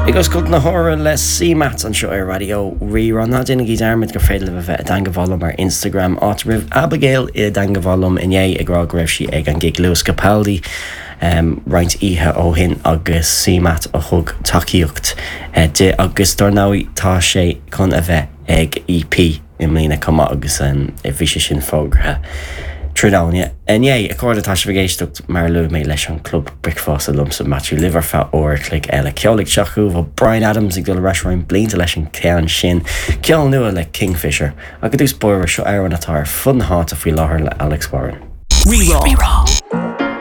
Ag oscailt na huaire le CMAT anseo ar Raidió Rí-Rá. Ná déanaigí dearmad gur féidir libh a bheith i dteangabháil liom ar Instagram, áit a raibh Abigail i dteangabháil liom inné ag rá go raibh sí ag an gig Lewis Capaldi roinnt oíche ó shin agus CMAT a thug tacaíocht di agus dár ndóigh tá sé chun a bheith ag EP i mbliana chomh maith agus bhí sé sin fógartha tráthnóna inné. A chairde, tá sibh ag éisteacht, mar a luaigh mé, leis an Club Bricfeasta liomsa, Maitiú, libh ar feadh uair a chloig eile. Ceol ag teacht chugaibh ó Bryan Adams ag dul ar ais roinnt blianta leis an cheann sin, ceol nua le Kingfisher. Ach i dtús báire, seo amhrán atá ar fud na háite faoi láthair le Alex Warren. Rí-Rá.